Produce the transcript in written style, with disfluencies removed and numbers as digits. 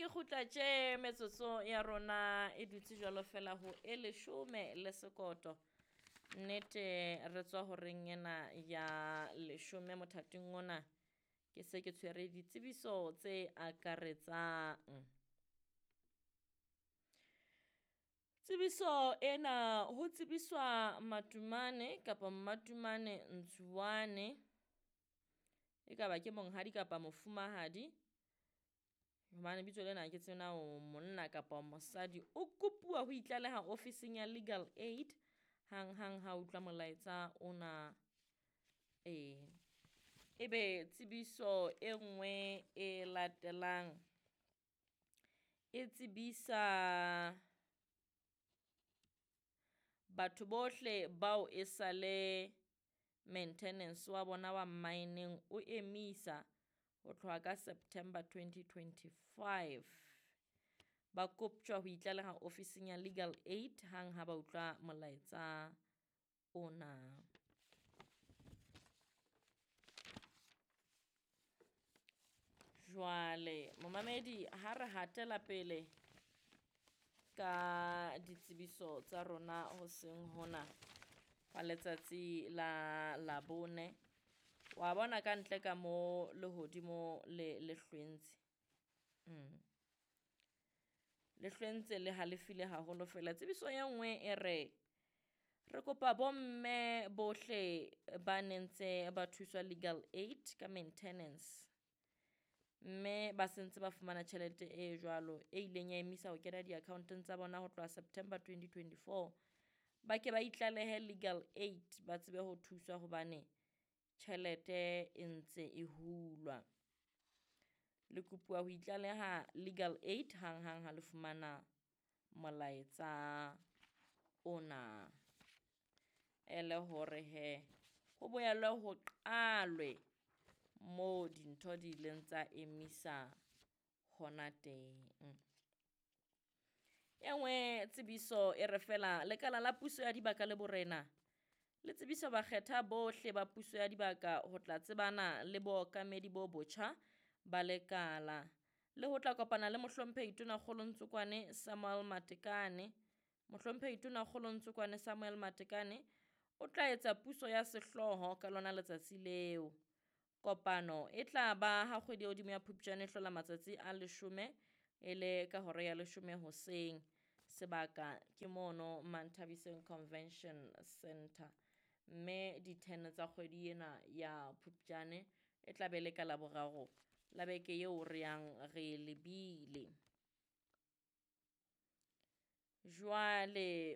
Ke kgutla tje metsotso ya rona e dutse jwalo fela ho e leshome le sekoto. Nnete re tswa horeng ena ya leshome mothating ona. Ke se ke tshwere ditsebiso tse akaretsang. Tsebiso ena ho tsebiswa Matumane kapa Mmatumane Ntswane, ekaba ke monghadi kapa mofumahadi, hobane bitso lena ha ke tsebe na o monna kapa o mosadi, o kopuwa ho itlaleha ofising ya Legal Aid hanghang ha utlwa molaetsa ona. Ee, ebe tsebiso e nngwe e latelang e tsebisa batho bohle bao e sale maintenance wa bona wa mmaeneng o emisa ho tloha ka September 2025. Ba koptjwa ho itlaleha ofising ya Legal Aid hang ha ba utlwa molaetsa ona. Jwale momamedi ha re hatela pele ka ditsebiso tsa rona hoseng hona wa letsatsi la Labone, wa bona ka ntle ka mo lehodimo le le hlwentse. Le hlwentse le halefile haholo fela. Tsebiso e nngwe e re, re kopa bomme bohle ba nentse ba thuswa Legal Aid ka maintenance, mme ba sentse ba fumana tjhelete e jwalo e ileng ya emisa ho kena di-account-ong tsa bona ho tloha September 2024, ba ke ba itlalehe Legal Aid ba tsebe ho thuswa hobane tjhelete e ntse e hulwa. Le kopuwa ho itlaleha Legal Aid hanghang ha le fumana molaetsa ona. Ele hore hee ho boelwe ho qalwe moo dintho di ileng tsa emisa hona teng. E nngwe tsebiso e re fela lekala la puso ya dibaka le borena le tsebisa bakgetha bohle ba puso ya dibaka ho tla tsebana le bookamedi bo botjha ba lekala le ho tla kopana le mohlomphehi Tonakgolo Ntsokoane Samuel Matekane. Mohlomphehi Tonakgolo Ntsokoane Samuel Matekane o tla etsa puso ya sehlooho ka lona letsatsi leo. Kopano e tla ba ha kgwedi ya hodimo ya Phupjane e hlola matsatsi a 10 e le ka hora ya 10 hoseng. Sebaka ke mono Manthabiseng Convention Center, mme di-10 tsa kgwedi ena ya Phupjane e tla be le ka Laboraro la beke eo re yang re lebile. Jwale.